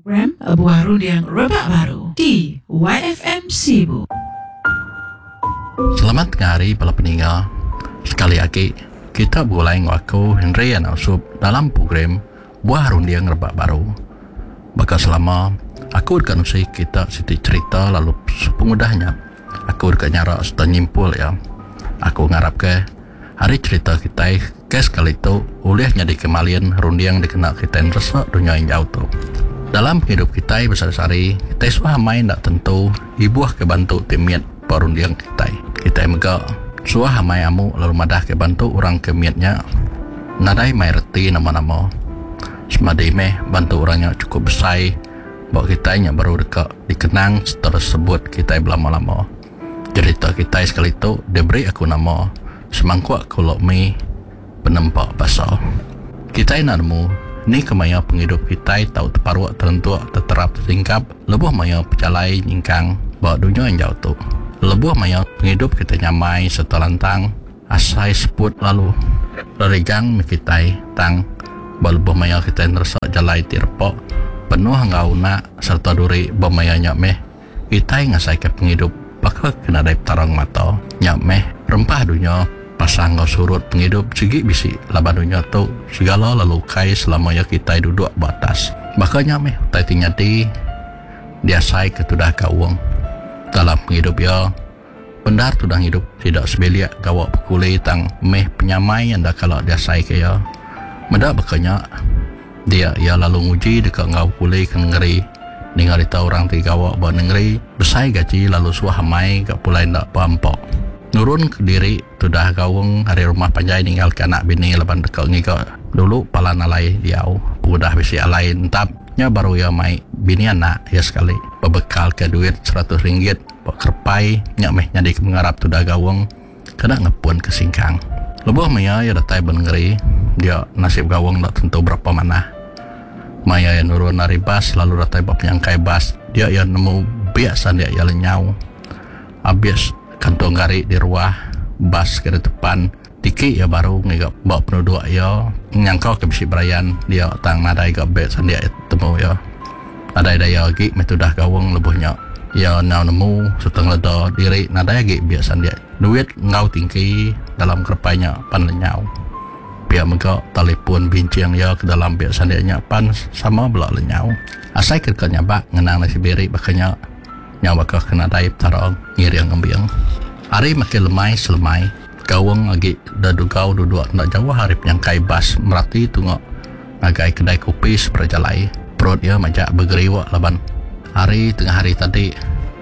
Program Buah Runding Rebak Baru di YFM Sibu. Selamat tengah hari bala peninga. Sekali agi kita begulai enggau aku Henry Anak Usup dalam program Buah Runding Rebak Baru. Baka selama, aku deka nusi kita siti cherita lalu sepengudah nya aku deka nyara sereta nyimpul iya. Aku ngarapka Ari cherita kitai ke sekali tu ulih nyadika malin runding dikena kitai neresa dunya injau tu. Dalam pengidup kitai besehari-sehari, kitai suah amai enda tentu ibuhka bantu ti mit ba runding kitai. Kitai mega suah amai amu lalu madahka bantu orang ke mit nya nadai mai reti nama-nama. Semadi meh bantu orang nya chukup besai ba kitai nya baru deka dikenang sereta disebut kitai belama-lama. Jerita kitai sekali tu diberi aku nama Semangkuk Kulok Mi Penempa Basa. Kitai enda nemu ni ke maya pengidup kitai tau teparuk terentuk teterap tetingkap lebuh maya pejalai nyingkang ba dunya injau tu. Lebuh maya pengidup kitai nyamai sereta lantang asai seput lalu rerigang meh kitai tang ba lebuh maya kitai neresa jalai ti repa penuh enggau unak sereta duri ba maya nya meh Kitai ngasaika pengidup baka ke nadai Petara ngemata. Nya meh, rempah dunya pasang enggau surut pengidup sigi bisi laban dunya tu segala lalu ukai selama iya kitai duduk ba atas. Baka nya meh utai ti nyadi diasaika tudah gaung dalam pengidup iya. Bendar tudah ngidup sida sebilik gawa bekuli tang meh penyamai enda kala diasaika iya. Meda baka nya, dia iya lalu nguji deka enggau bekuli ke nengeri. Ninga rita orang ti gawa ba nengeri besai gaji lalu suah amai ga pulai enda beampa. Nurun kediri tudah gaung ari rumah panjai ninggalka anak bini laban deka ngiga dulu palan alai diau. Pengudah bisi alai entap, nya baru iya mai bini anak iya sekali bebekalka duit seratus ringgit. Ba kerepai nya meh nyadi ke pengarap tudah gaung kena ngepun ke singkang. Lebuh maya iya datai ba nengeri dia nasib gaung enda tentu berapa manah. Maya iya nurun ari bas lalu datai ba penyangkai bas dia iya nemu biak sandik iya lenyau abis kantung gari di ruah bas ke ditepan tiki iya baru ngiga ba penuduk iya nyangka ke bisi berayan dia tang nadai ga beg sandik iya temu iya. Nadai daya agi meh tudah gaung lebuh nya. Iya enggau nemu sereta ngeleda diri nadai agi biak sandik duit enggau tingki dalam kerepai nya pan lenyau. Pia mega talipun binching iya ke dalam biak sandik nya pan sama bela lenyau. Asai ke deka nyabak ngenang nasib diri baka nya nyau baka ke nadai Petara ngiring ngembing. Hari makin lemai selemai, gaung agi dedugau duduk enda jauh ari penyangkai bas merati tunga. Ngagai kedai kopi seberai jalai, perut iya majak begeriuk laban hari tengah hari tadi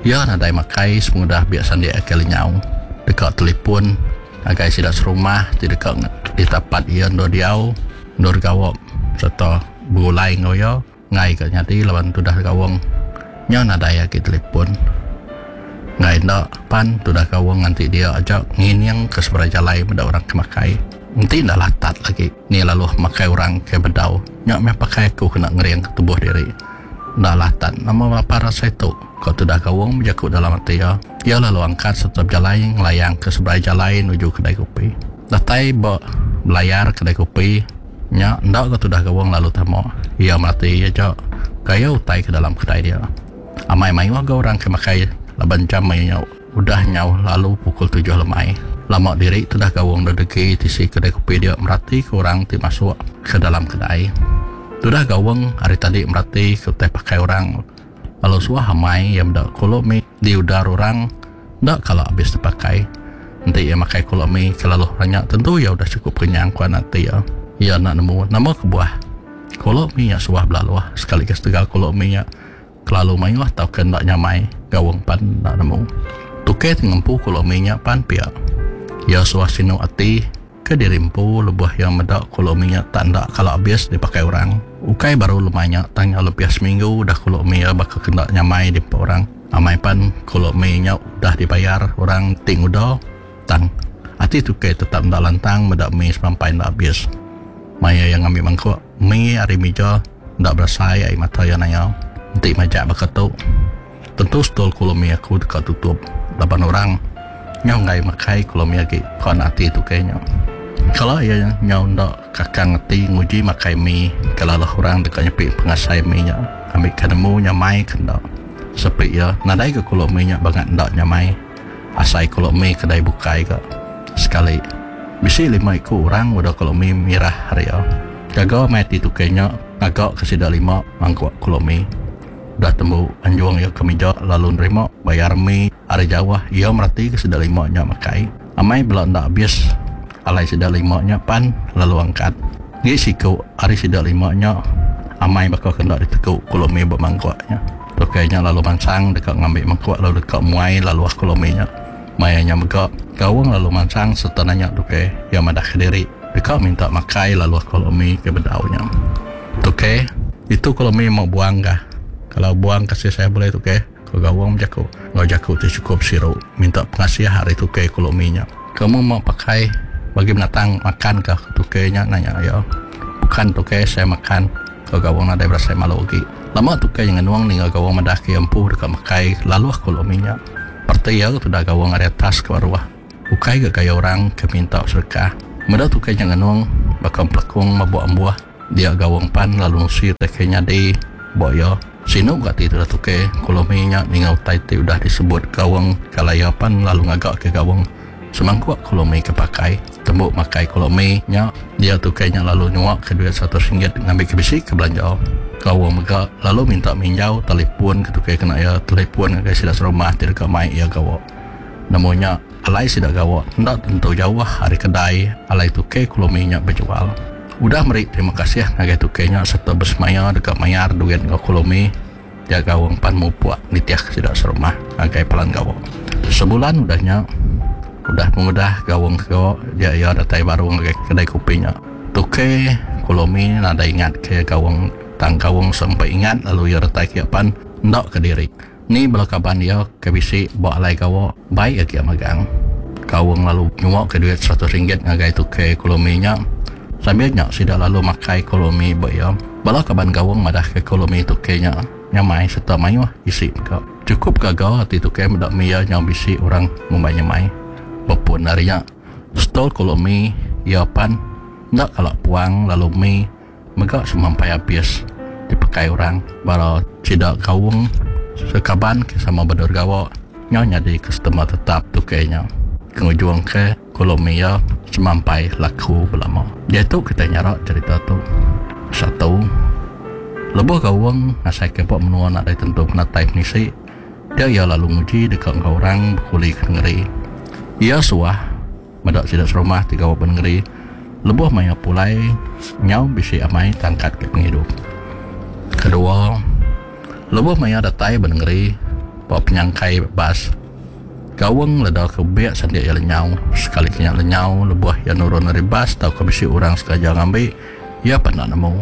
iya nadai makai sepengudah biak sandik ake lenyau deka telipun ngagai sida serumah ti deka ditapat iya endur diau endur gawa sereta begulai enggau iya enggai ka nyadi laban tudah gaung nya nadai agi telipun. Enggai enda pan tudah gaung nganti dia aja ngining ke seberai jalai meda orang ke makai. Enti enda latat lagi ni laluh makai orang ke bedau nya meh pakai aku kena ngering ke tubuh diri. Enda latat nama lapar asai tu, ko tudah gaung bejaku dalam ati iya. Iya lalu angkat sereta bejalai ngelayang ke seberai jalai nuju kedai kopi. Datai ba belayar kedai kopi nya enda ga tudah gaung lalu tama. Iya merati aja gaya utai ke dalam kedai dia. Amai mayuh ga orang ke makai laban jam maya nya udah nyau lalu pukul tujuh lemai. Lama diri tudah gaung dedegi tisi kedai kopi dia meratika orang ti masuk ke dalam kedai. Tudah gaung ari tadi meratika utai pakai orang lalu suah amai iya meda kulok mi diudar orang enda kala abis dipakai. Enti iya makai kulok mi ke laluh orang nya tentu iya udah chukup kenyang ku anak ati iya. Iya enda nemu nama kebuah. Kulok mi nya suah belaluh sekali ke setegal kulok mi nya kelalu mayuh tauka enda nyamai gaung pan enda nemu. Tukey ti ngempu kulok mi nya pan pia. Iya suah sinu ati ke diri empu lebuh iya meda kulok mi nya tak enda kala abis dipakai orang. Ukai baru lemai nya tang nyau lebih seminggu udah kulok mi iya baka ke enda nyamai diempa orang. Amai pan kulok mi nya udah dibayar orang ti nguda tang ati tukey tetap enda lantang meda mi semampai enda abis. Maya iya ngambi mangkuk mi ari mija enda berasai ai mata iya naya. Enti majak baka tu, tentu stol kulo mi aku deka tutup laban orang nyau enggai makai kulo mi agi, ku anak ati tukey nya. Kala iya nyau enda kakang ati nguji makai mi ke laluh orang deka nyepi pengasai mi nya ngambika nemu nyamai ke enda. Sepi iya nadai ga kulok mi nya bangat enda nyamai asai kulok mi kedai bukai ga. Sekali, bisi lima iku orang meda kulok mi mirah ari iya. Gaga meh ati tukey nya ngaga ke sida lima mangkuk kulok mi. Udah tembu anjung iya ke mija lalu nerima bayar mi ari jauh iya meratika sida lima nya makai. Amai bela enda abis alai sida lima nya pan lalu angkat. Ngi siku ari sida lima nya amai baka ke enda diteku ku Lumi ba mangkuk nya. Tukei nya lalu mansang deka ngambi mangkuk lalu deka muai laluh ku Lumi nya. Maya nya mega Gaung lalu mansang sereta nanya tukei iya madahka diri deka minta makai laluh ku Lumi ke bedau nya. Tukei, Itu ku Lumi mau buang kah. Kalau buang kasih saya boleh tukei. Ku Gawong bejaku enggau jaku ti chukup siru minta pengasih ari tukei Kulomi nya. Kamu mau pakai bagi binatang makan ka ku tukei nya nanya iya. Bukan tukei saya makan, ku Gawong nadai berasai malu agi. Lama tukei nya ngenung ninga Gawong madah ke iya empu deka makai laluh Kulomi nya. Parti iya tudah Gawong ari atas ke baruh. Ukai ga gaya orang ke minta sedekah. Meda tukei nya ngenung baka empelekung mabuk ambuh. Dia Gawong pan lalu nusi utai ke nyadi ba iya. Sinu ga ati tudah tukey Kulomi nya ninga utai ti udah disebut Gawong kala iya pan lalu ngaga ke Gawong semangkuk Kulomi ke pakai. Tembu makai Kulomi nya, dia tukey nya lalu nyua ke duit RM100 ngambi ke bisi ke belanja. Gawong mega lalu minta minjau telipun ke tukey kena iya telipun ngagai sida serumah ti deka mai iya gawa. Nemu nya, alai sida gawa enda tentu jauh ari kedai alai tukey Kulomi nya bejual. Udah meri terima kasih ngagai tukey nya sereta besemaya deka mayar duit enggau Kulomi, dia gaung pan mupuk nitihka sida serumah ngagai palan gawa. Sebulan udah nya, udah pengudah gaung ke gawa, dia iya datai baru ngagai kedai kopi nya. Tukey Kulomi nadai ingat ke gaung tang gaung sempai ingat lalu iya datai ke iya pan enda kediri. Ni bala kaban iya ke bisi ba alai gawa baik agi iya magang. Kaung lalu nyuaka duit RM100 ngagai tukey Kulomi nya. Sambil nya sida lalu makai Kulomi ba iya. Bala kaban Gaung madahka Kulomi tukey nya nyamai sereta mayuh isi mega. Chukup gaga ati tukey meda mi iya nyau bisi orang ngumbai nyamai. Bepun ari nya, stol Kulomi iya pan enda kala puang lalu mi Mega semampai abis dipekai orang bala sida gaung sekaban ke sama bedau gawa nyau nyadi customer tetap tukey nya. Ke ngujung ke kolom iya semampai laku belama. Diatu kitai nyara cherita tu. Satu, lebuh gaung ngasai ke ba menua nadai tentu penatai pengisi, dia iya lalu nguji deka enggau orang bekuli ke nengeri. Iya suah. Meda sida serumah ti gawa ba nengeri lebuh maya pulai nyau bisi amai tangkat ke pengidup. Kedua, lebuh maya datai ba nengeri ba penyangkai bas, Gaung leda ke bek sandik iya lenyau. Sekali ke nya lenyau lebuh iya nurun ari bas tauka bisi orang sengaja ngambi, iya pan enda nemu.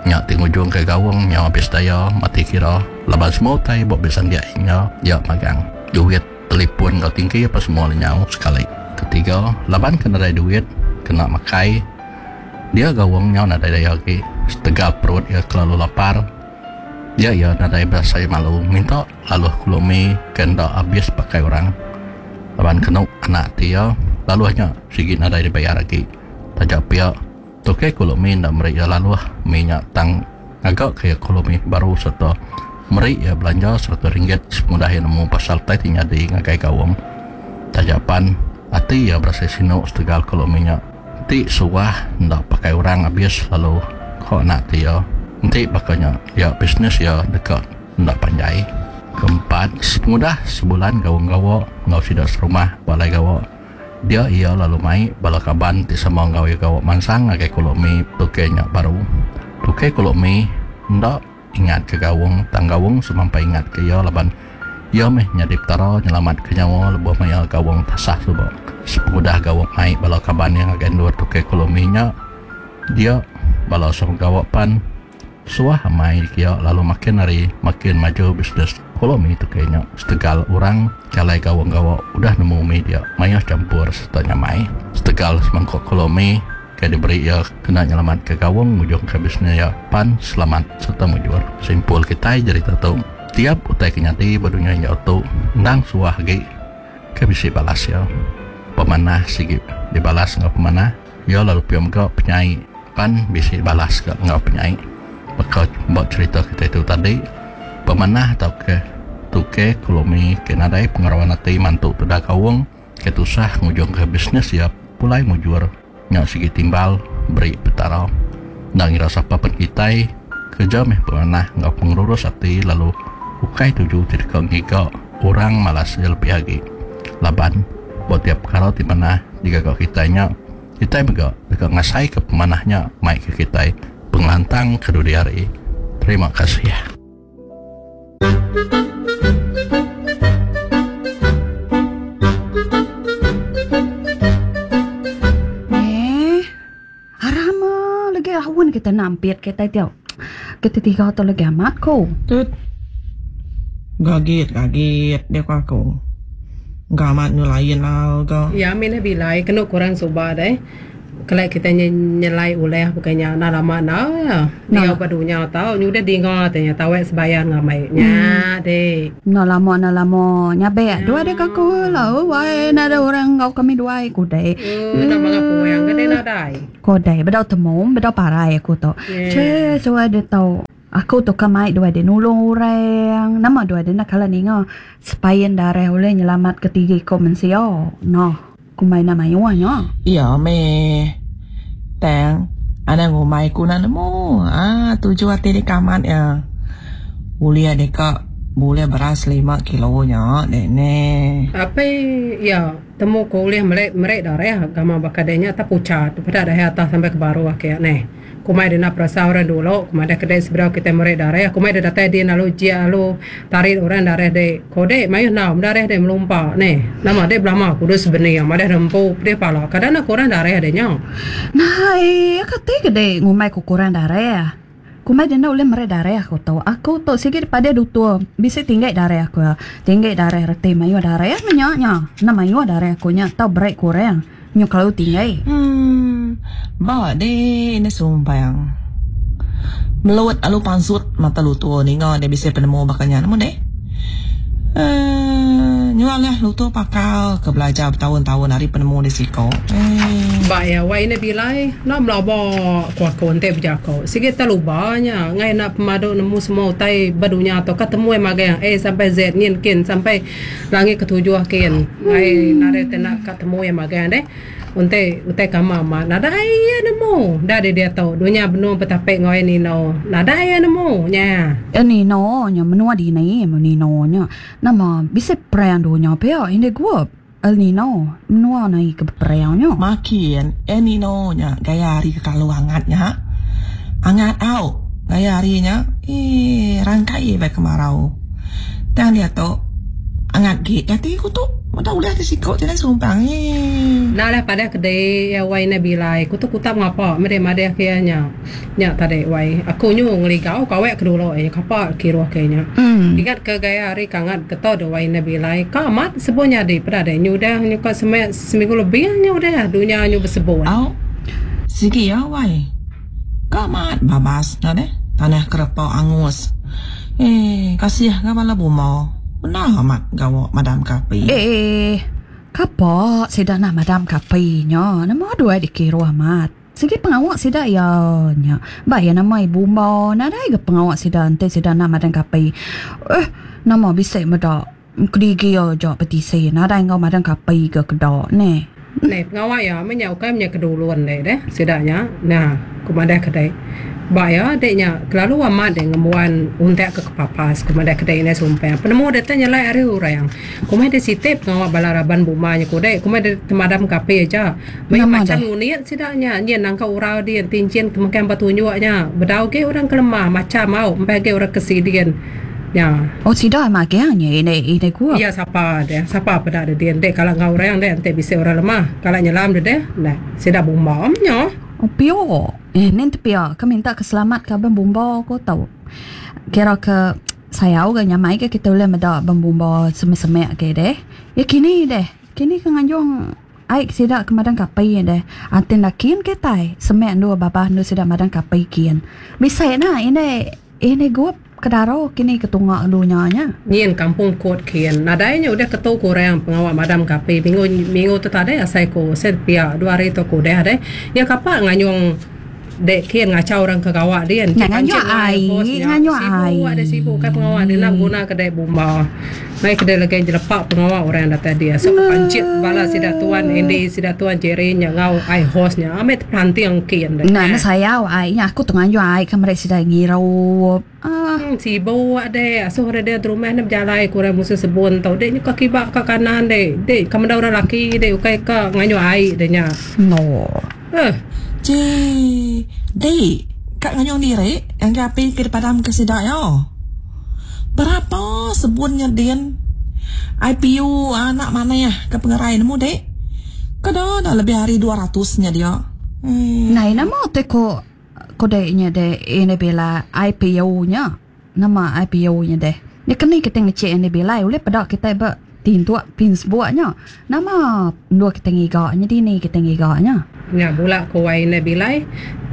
Nya ti ngujungka Gaung nyau abis daya mati kira laban semua utai ba bek sandik iya iya magang. Duit. Telipun enggau tingki apa semua lenyau sekali. Ketiga, laban ke nadai duit kena makai, dia gaung nyau nadai daya agi setegal perut iya kelalu lapar. Dia iya nadai berasai malu minta laluh kulomi ke enda abis pakai orang. Laban kenu anak ati iya, laluh nya sigi nadai dibayar agi. Taja pia, Tokey Kulomi enda meri iya laluh mi nya tang ngaga ke iya Kulomi baru sereta meri iya belanja RM100 sepengudah iya nemu pasal utai ti nyadi ngagai Gaung. Taja pan ati iya berasai sinu setegal Kulomi nya ti suah enda pakai orang abis lalu ko anak ati iya enti baka nya iya bisnes iya deka enda panjai. Keempat, sepengudah sebulan Gaung gawa enggau sida serumah ba alai gawa, Dia iya lalu mai bala kaban ti sama enggau iya gawa mansang ngagai Kulok Mi tukey nya baru. Tukey Kulok Mi enda ingat ke Gaung tang Gaung semampai ingat ke iya laban iya meh nyadi petara nyelamat ke nyawa lebuh maya Gaung tasah suba. Sepengudah Gaung mai bala kaban iya ngagai endur tukey Kulok Mi nya dia bala sama gawa pan Suah amai dikia lalu makin hari makin maju bisnes kolomi tukey nya setegal orang jalai gawa gawa udah nemu mi dia mayuh champur sereta nyamai. Setegal semangkuk kolomi ke diberi iya kena nyelamatka gaung ngujungka bisnes iya pan selamat sereta mujur. Simpul kitai jerita tu, tiap utai ke nyadi ba dunya injau tu endang suah agi ke bisi balas iya. Pemanah sigi dibalas enggau pemanah. Iya lalu pia mega penyai pan bisi balas ga enggau penyai. Baka ba cherita kitai tu tadi, pemanah tauka tuke Kulomi ke nadai pengerawan ati mantu tudah kaung ke tusah ngujungka bisnes iya pulai mujur nya sigi timbal beri Petara. Enda ngira sapa pen kitai, kereja meh pemanah enggau pengerurus ati lalu ukai tuju ti deka ngiga orang malas iya lebih agi. Laban ba tiap pekara ti manah digaga kitai nya, Kitai mega deka ngasaika pemanah nya mai ke kitai pengelantang ke dudi hari. Terima kasih. Eh, aram ah lagi aun kita nampit kita tiap. Kita tiga tu lagi amat ko. Tut. Gagit gagit dia ko aku. Ga amat nyu lain al ga. Ya minah bilai kenu kurang suba deh. Kelai kitai nyelai ulih bukai nya enda lama enda ya. Diau ba dunya tau nyudah dinga te nya tawek sebayan ngamai nya deh. Enda lama enda lama nyabek dua deh ka aku la wai nadai orang enggau kami duai ku deh. Enda manga puang ke deh nadai. Ko deh bedau temu bedau parai aku tu. Che suai deh tau. Aku tu ka mai duai deh nulung orang. Nama duai deh enda kala ninga sepain darah ulih nyelamat ke tiga iko mensia. Noh, kumbai enda mayuh nya. Iya meh. Tang, anang ngumbai ku enda nemu. Aa tuju ati deka amat iya. Ulih deka bulih beras lima kilo nya deh neh. Apai iya temu ku ulih meli meri darah gamal baka deh nya tepuchat peda deh atas sampai ke baruh ake neh. Kumai dena perasa orang dulu, kumai deh kedai sebedau kitai meri dareh, kumai deh datai din lalu jia lalu tarit orang dareh dek. Ko dek mayuh enam dareh dek melumpa neh. Nama dek belama kudus bening madah deh empu pedih pala kada ne kurang dareh dek nya. Nai kati ke dek ngumbai ku kurang dareh. Kumbai deh enda ulih meri dareh aku tu. Aku tu sigi dipadeh dutur bisi tinggi dareh aku. Tinggi dareh reti mayuh dareh meh nya nya. Enda mayuh dareh aku nya tau beri kurang. Nyu kelalu tinggi. Emm ba deh enda sumpang. Melut alu pansut mata lutur ninga deh bisi penemu baka nya nemu deh. Emm nyual leh lutur pakar ke belajar betaun-taun ari penemu deh siko. Emm. Ba iya wai enda bilai enda melaba ku aku enti bejako. Sigi teluba nya ngai enda pemadu nemu semua utai ba dunya tu ka temu magang A sampai Z nyin kin sampai Langit ketujuh kin ai nadai te enda ka temu iya magang deh. Enti utai kama amat nadai iya nemu da di diatu dunya benung betapi enggau El Nino nadai iya nemu nya. El Nino nya menua dini El Nino nya nama bisi perang dunya pia indi gup El Nino menua nai ke beperang nya. Makin El Nino nya gaya hari ke kalu angat nya angat au gaya hari nya eii rangkai bai kemarau. Tang diatu angat gi ati ku tu meda ulih ti siku ti nadai sumpang eii. Enda lah padah kedi iya wai indai bilai ku tu kutap ngapa meh deh madih ke iya nya. Nya tadi wai aku nyu ngeligau kawek ke dulu iya kapa kiruh ke nya. Ingat ke gaya hari ke angat ke tu deh wai indai bilai ka amat sebun nyadi peda deh nyu udah nyu ka semek seminggu lebih nyu udah dunya nyu besebun. Au sigi iya wai. Ka amat babas nya deh tanah kerepa angus. Eeh kasih ga bala buma bendar amat gawa madam ke api. Eeh kapa sida nah madam ke api nya nama duai dikiruh amat. Sigi pengawa sida iya nya. Ba iya nama ibu umba nadai ga pengawa sida enti sida nah madam ke api. Eh nama bisi meda kedigi aja petisi nadai enggau madam ke api ga keda neh. Neh pengawa iya meh nya ukai menya kedulun deh deh sida nya. Nah ku madah ke deh. Ba iya deh nya kelalu amat deh ngembuan untak ke kepapas ku madah ke deh indai sumpang. Penemu deh te nyelai ari orang. Ku meh deh siti pengawa bala raban buma nya ku deh ku meh deh temadam ke api aja. Mayuh macham ngunit sida nya nyin nangka urau din tinchin ke mekang ba tunjuk nya. Bedau agi orang ke lemah macham au empai agi orang ke sidin. Nya. Oh sida amat agi nya indai indai gua. Iya sapa deh sapa peda deh din deh kala enggau orang deh enti bisi orang lemah kala nyelam deh deh neh sida bumba meh nya. Oh pio eh nin tepia ke minta ke selamat ke abang bumba ko tau. Kira ke sayau ga nyamai ga kita ulih meda abang bumba semek-semek agi deh. Ya kini deh kini ke nganjung Ai sida ke madang kapi deh. Antin lakin kitai semek endur babah endur sida madang kapi kin. Bisi na indai indai gup. Kedaro kini ke tunga dunya nya. Nyin kampung kot kin. Nadai nya udah ketu kurang pengawa madam ke api minggu minggu tu tadi asai ku sen pia dua hari tu ku udah deh. Iya kapa nganyung dek kin ngachau orang ke gawa din. Nya nganyung ai, nganyung ai. Sibu ada sibu kai pengawa dia enda beguna ke dek bomba. Mai ke dek legi nyelepak pengawa orang datai dia. So pancit bala sida tuan Andy sida tuan Jerry nya enggau ai hos nya amai tepelanting kin deh. Enda enda sayau ai nya aku tu nganyung ai ke meri sida ngirup. Ah. Sibuk dek asuh orang dia rumah ne bejalai ku orang musim sebun tu dek nyuka kiba ka kanan dek dek ka meda orang laki dek ukai ka ngayuh ai dek nya. No. Eh. Ci dek ka ngayuh diri ngagai api ke dipadam ke sida iya. Berapa sebun nya din IPU anak manah ke pengerai nemu dek. Kada dah lebih ari 200 nya dia. Eh. Nai nama te ko Ko dek nya deh ini bila IPU nya. Nama IPU nya deh. Nya keni kitai ngecek ini bilai ulih peda kitai ba tintuk pinsbuk nya. Nama endur kitai ngiga nya dini kitai ngiga nya. Nya bula ko wai indai bilai.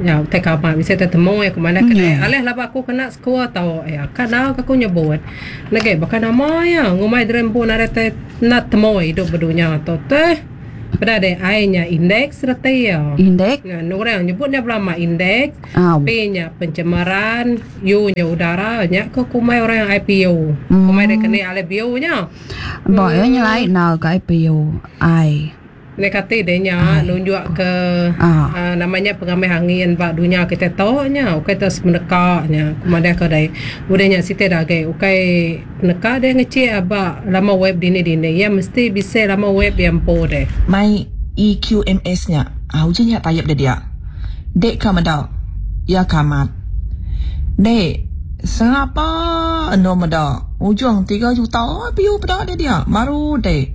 Nya utai kama bisi tetemu iya ku madah ke deh. Alih laba aku kena sekul tau iya ka dau ka aku nyebut. Nege baka nama iya ngumbai diri empu nadai tai enda temu idup ba dunya tu teh. Peda deh ai nya indeks reti iya. Indeks. Nah, orang nyebut nya belama indeks. P nya pencemaran, U nya udara, nya ke kumbai orang IPU. Kumbai deh keni alai biu nya. Ba iya nyelai enggau ke IPU ai. Nya kati deh nya nunjuk ke nama nya pengamih angin ba dunya kita tu nya ukai tu semeneka nya ku madah ke deh. Udah nya siti da agi ukai Neka deh ngecik aba lama web dini dini iya mesti bisi lama web iya empu deh. Mai EQMS nya ah uji nya tayep deh dia. Dek ka meda iya ka amat. Dek sengapa endur meda ujung tiga juta view peda deh dia baru dek.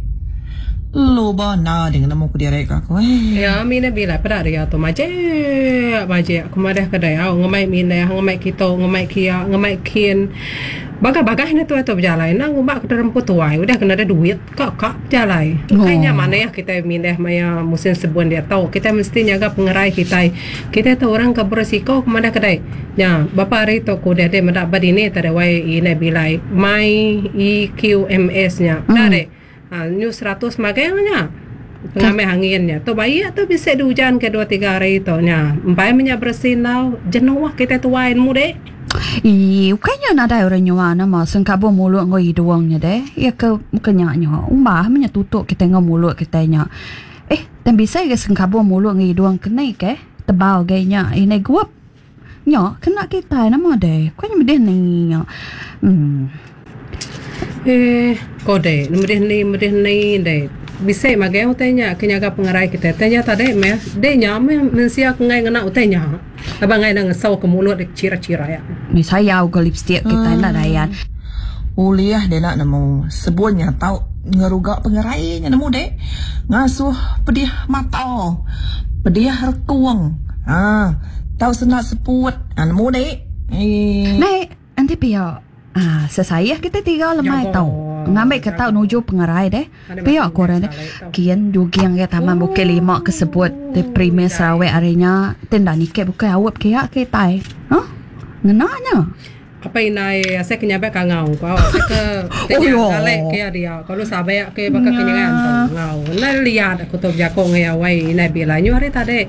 Luba enda deh nemu kediri ka aku eh. Iya minah bila peda dia tu majik majik aku madah ke deh au ngemai minah ngemai kitu ngemai kia ngemai kin. Bagah-bagah nya tuai tu bejalai enda ngumba ke rempu tuai udah ke nadai duit ka ka bejalai. Ukai nya manah kitai mindah maya musim sebun diatu kitai mesti nyaga pengerai kitai. Kitai tu orang ke berisiko ke madah kedai. Nya bapa hari tu ku udah deh meda ba dini tadi wai indai bilai mai EQMS nya. Enda deh ha nyu 100 magang nya pengamih angin nya. Tu baik tu bisi diujan ke dua tiga hari tu nya. Empai meh nya beresi enggau jenuh kitai tuai nemu deh. Ii, ukai nya nadai orang nyua nama sengkabung mulut enggau hidung nya deh. Iya ke ke nya nya umbah meh nya tutup kitai enggau mulut kitai nya. Eh, tang bisi ga sengkabung mulut enggau hidung keni keh tebal gai nya indai gup. Nya kena kitai nama deh. Ukai nya medih ni nya. Uhh. Eh, ko deh, medih ni medih ni deh. Bisi magang utai nya ke nyaga pengerai kitai. Utai nya tadi meh, deh nya meh mensia ke enggai ngena utai nya. Laban enggai enda ngesau ke mulut deh chira-chira. Ni sayau ke lipstick kitai enda dayan. Ulih deh enda nemu. Sebun nya tau ngeruga pengerai nya nemu deh. Ngasuh pedih mata, pedih rekung, aaa tau senda seput, nemu deh. Eii. Nai enti pia. Aaa sesayah kitai tiga lemai tau ngambi ke tau nuju pengerai deh. Pia ku orang deh. Kin juging ke Taman Bukit Lima ke sebut ti Premier Sarawak ari nya ti enda niki bukai aup kiya kitai. Huh ngena nya. Apai indai asai ke nyabak kangau ku au asai ke ti nya ngalek ke iya dia ku sabak ke baka ke nyengan tu enggau enda liat aku tu bejaku enggau iya wai indai bila nyu hari tadi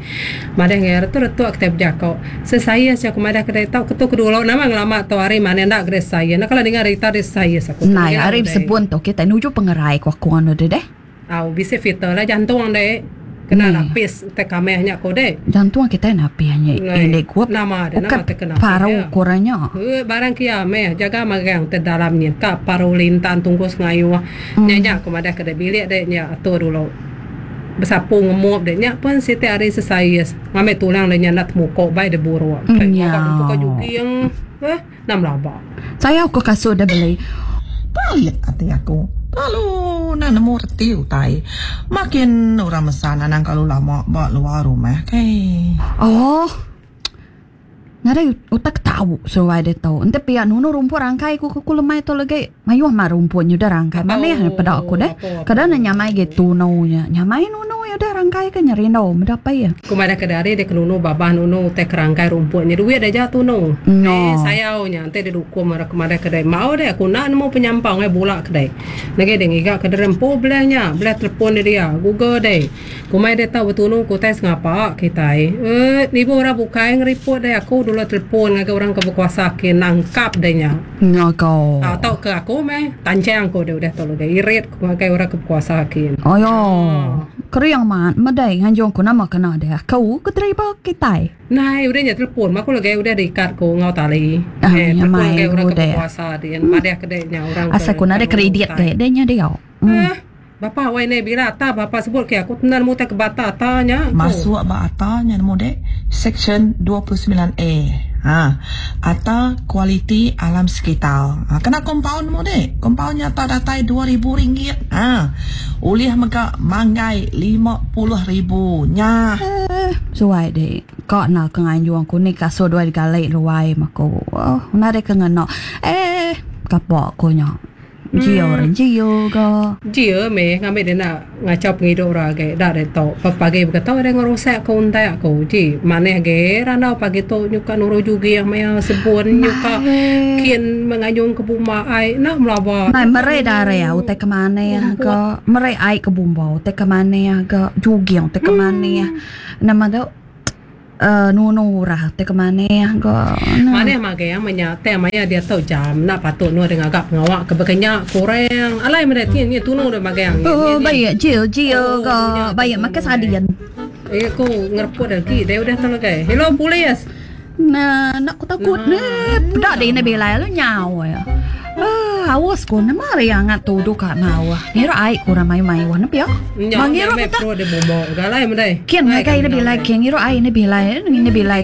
madah enggau iya retu retu kitai bejaku. Sesais nya aku madah kedai tau ketu ke dulu nama ngelama tu hari manah enda kedai sesais enda kala ninga rita deh sesais aku tu. Nai hari besebun tu kitai nuju pengerai ku aku anu deh deh. Au bisi filter lah jantung deh kena lapis utai kameh nya ku deh. Jantung kitai napih nya indi gup Nama deh nama ukai te kena paru ku orang nya. Ee barang kia meh jaga magang te dalam nyin ka paru lintan tungkus ngayuh nya nya ku madah kedai bilik deh nya atur dulu. Besapu ngemup deh nya pun siti hari sesais. Ngambi tulang deh nya enda temuko bai deh buruk. Kai Nya. ngaga deh pukau juging eh enda melaba. Sayau ko kasut deh beli. Palit ati aku. Lalu enda nemu reti utai. Makin orang mesan anang kelalu lama ba luar rumah kai. Oh. Nadai utai ke tau seruai ditu. Enti pia nunu rumput rangkai ku ku lemai tu legi mayuh mah rumput nyudah rangkai. Manih peda aku deh. Kada ne nyamai agi tunu nya. Nyamai nunu iya. udah rangkai ke nyerindu meda pei. Ku madah ke dari dek nunu babah nunu utai ke rangkai rumput nya duit aja tunu. No. Eh sayau nya enti dek dukum orang ke madah ke dek mau dek aku enda nemu penyampau ngai bula ke dek. Negi dek ngiga ke dere empu beleh nya beleh telepon dek dia google dek. Kumai dek tau betunu ke utai sengapa kitai. Eh nibu orang bukai ngeripot dek aku dulu telepon ngagai orang ke bekuasa ke nangkap dek nya. Nya ko. Tau ke aku meh tanchang ko dek udah tu legi irit ku ngagai orang ke bekuasa kin. Ayo. Kering amat medai nganjung ku nama kena deh aku ke deriba kitai. Nai udah nya telepon aku legi udah diikat ku enggau tali. Ah Eh nya telepon mai ngagai orang ku ke deh. bekuasa din madah ke dek nya orang ke Asal ku nadai nunu kredit utai. deh deh nya dia. Hmm. Eh bapa wai neh bila ata bapa sebut ke aku tenan mutai ke bata ata nya ku. Masuk ba ata nya nemu dek section 29 A. Ha ata kualiti alam sekitar. Ha kena kompaun nemu dek. Kompaun nya ata datai 2000 ringgit. Ha ulih mega manggai 50,000 nya. Eh, suai dek. Ka na ke nganjung ku ni kasut duai digali ruai meh ku. Oh, nadai ke ngena. Eh, kapa ku nya. Jio orang jio ga. Jio meh ngambi dia enda ngachau pengidup orang agi da ditu. Pagi beketo dia ngerusak ke untak ku. Ji manah agi randau pagi tu nyuka nuru juging maya sebun nyuka kin mengayung ke bumba ai enda melaba. Mai meri darah utai ke manah ga. Meri ai ke bumba utai ke manah ga. Juging utai ke manah. Nama tu. Nunu urah ti ke manih ga. Manih magang menya tang maya diatu jam enda patut nuh deh ngaga pengawa ke baka nya kurang alai meda ti nya tunu deh magang. Oh baik jil jil ga baik makai sardin. Eh ku ngereput agi deh udah tu lagi. Hello polis. Nah enda ku takut neh peda deh ina bilai lalu nyau iya. Aaa aus ku nama ari angat tudu ka mauh. Ngira ai ku orang mayuh mayuh ne pia. Nya Ba ngira meh kita. perut deh bumok ga alai meda. Kin ngagai ina bilai kin ngira ai ina bilai ina bilai.